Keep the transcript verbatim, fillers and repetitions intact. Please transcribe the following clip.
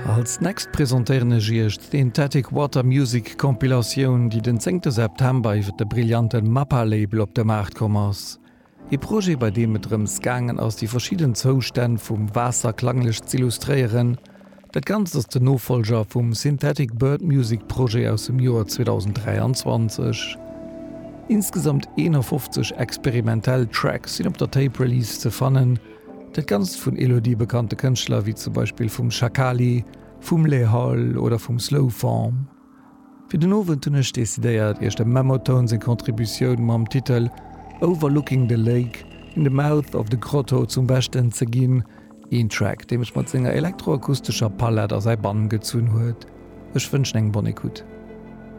Als nächst presentéieren ech iech d'Synthetic Water Music Compilatioun, déi den zéngte September iwwer de brillante Mappa-Label op de Maart komm ass. Ee Projet, bei deem et drëms gaangen ass, déi verschidden Zoustänn vum Waasser klanglech z'illustréieren. Dat Ganzt ass den Nofollger vum Synthetic Bird Music Projet aus dem Joer zweedausenddräianzwanzeg. Insgesamt eenafofzeg experimentell Tracks sinn op der Tape Release ze fannen, dat Ganzt vun Elodie bekannte Kënschtler wéi zum Beispill vum Shakali, vum Les Halles oder vum Slow Form. Fir den Owend hunn ech decidéiert, iech dem Memotone seng Contributioun mam Titel Overlooking the Lake in the Mouth of the Grotto zum Beschten ze ginn, een Track, dee mech mat senger elektroakustescher Palett a säi Bann gezunn huet. Ech wënschen eng bonne écoute.